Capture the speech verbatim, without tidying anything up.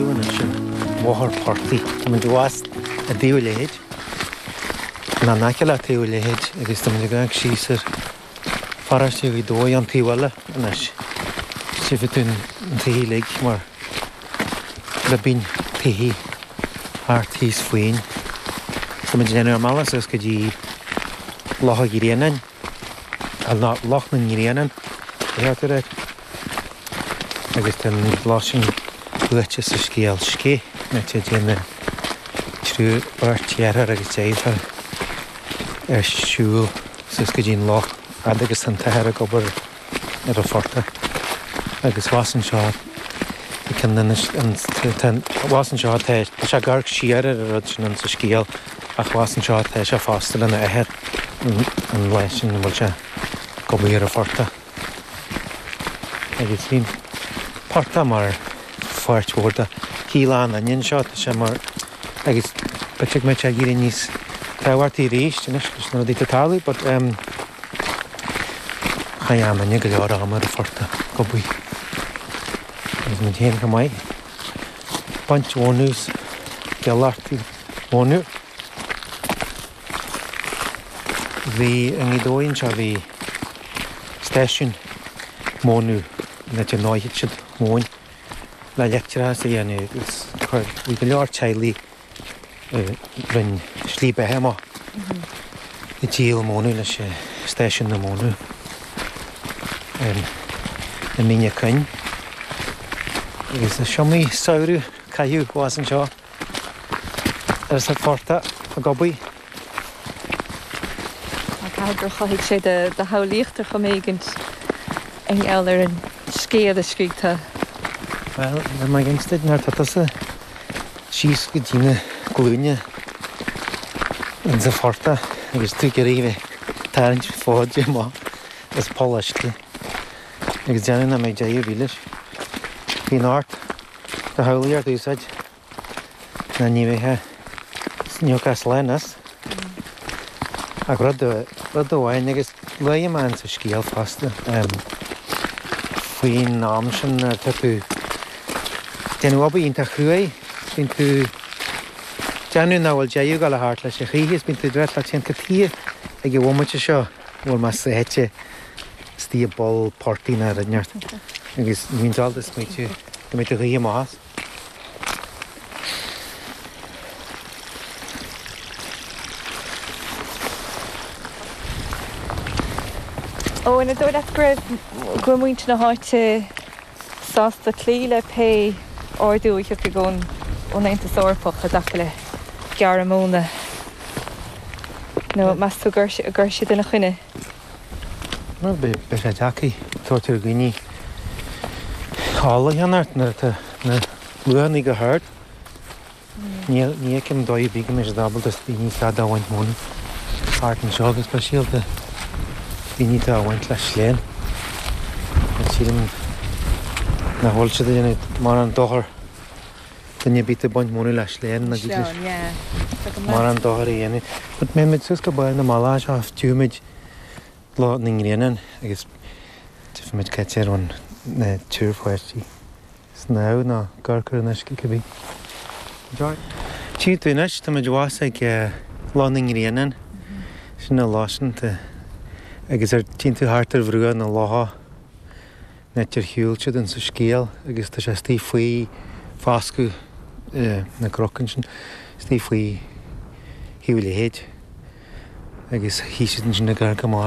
siúl anois an bóthar portaigh. Tá muid abhus i dTaobh an Leithéid. Nó in aice le Taobh an Leithéid agus tá muid ag amharc síos ar pharóiste Ghaoth Dobhair an taobh eile anois. Tchífidh tú an taobh uilig mar ribín tithe thart thíos faoin. Tá muid ag déanamh ár mbealach suas go dtí Loch an Ghrianáin, nó Loch na nGrianán, a cheart a rá. Agus tá an loch sin luaite sa scéal Scéith, áit a dtéann na triúr, beirt dheartháir agus deirfiúr ar siúl suas go dtí an loch fhad agus tá an t-athair ag obair ar an phortach. Agus abhus anseo tá ceann de na, abhus anseo tá, tá sé ag amharc siar ar an rud sin sa scéal ach abhus anseo tá sé fosta lena athair an lá sin a bhfuil sé ag obair ar an phortach. Agus bhí an portach mar pháirt mhór de shaol an duine anseo, tá sé mar, agus b'fhéidir go mbeidh sé ag éirí níos tábhachtaí arís anois leis na rudaí atá ag tarlú, but um, chaith an duine go leor ama ar an phortach ag obair. Agus muid féin chomh maith. Baint mhónadh is gealachtaí mónadh. Bhí i nGaoth Dobhair anseo bhí stáisiún mónadh an áit a ndóitheadh siad móin le leictreachas a dhéanamh agus chuir bhí go leor teaghlaigh a rinne slí beatha amach ag díol mónadh leis stáisiún na mónadh i Mín an Choinn. Agus is iomaí samhradh caitheadh abhus anseo ar sa phortach ag obair. Caithfidh gur chothaigh sé do do shamhlaíocht ar chuma éigint i ngeall ar an scéal a scrígh tú. Bhuel, níl mé ag insint nuair atá tusa síos go dtí na glúine insa phortach agus tú ag iarraidh a bheith ag tarraingt fóid amach as poll uisce agus déanamh nach mbeidh deireadh ar bith leis. Bíonn ort do shamhlaíocht a úsáid nó ní bheifeá ní thiocfá slán as. Ach rud rud amháin agus luaigh mé sa scéal fosta faoin am sin nuair atá tú déanamh obair iontach cruaidh, bíonn tú déanamh nach bhfuil deireadh ag dul thart leis a choíche is bíonn tú dúirt leat féin cad chuige ag an bhomaite seo a bhfuil mé sáite istigh i bpoll portaigh nó rud inteacht agus ní bhíonn ábalta smaoitiú go mbeidh tú choíche amach as. Ó, an dóigh leat go raibh go raibh muintir na háite sásta cloí le pé ordú a thiocfadh ón ón Aontas Eorpach i dtaca le gearradh móna? Nó meas tú gur gur siad ina choinne? Bhuel, beidh beidh sé deacair tabhairt ar dhaoine ola a cheannacht nuair atá na luachanna go hard. Ní ní fheicim dóigh ar bith go mbeidh siad ábalta daoine cead a bhaint móna thart anseo go speisialta daoine atá á bhaint le sléan. Sílim nach bhfuil siad ag déanamh mórán dochar duine ar bith ag baint móna le sléan ná Sleán, yeah. mórán dochar a dhéanamh. But mbeidh muid suas go barr na mbealach seo tchífidh muid Loch na nGrianán agus tchífidh muid cá háit ar bhain na triúr pháistí snámh nó amharc ar an uisce cibé. Tchífidh tú anois, tá muid abhus ag Loch na nGrianán, sin an loch sin agus ar tchíonn tú thart ar bhruach na locha an áit ar shiúil siad insa scéal agus tá sé istigh faoi foscadh na gcnoc ansin, istigh faoi Thaobh an Leithéid agus shuigh siad ansin ag amharc amach.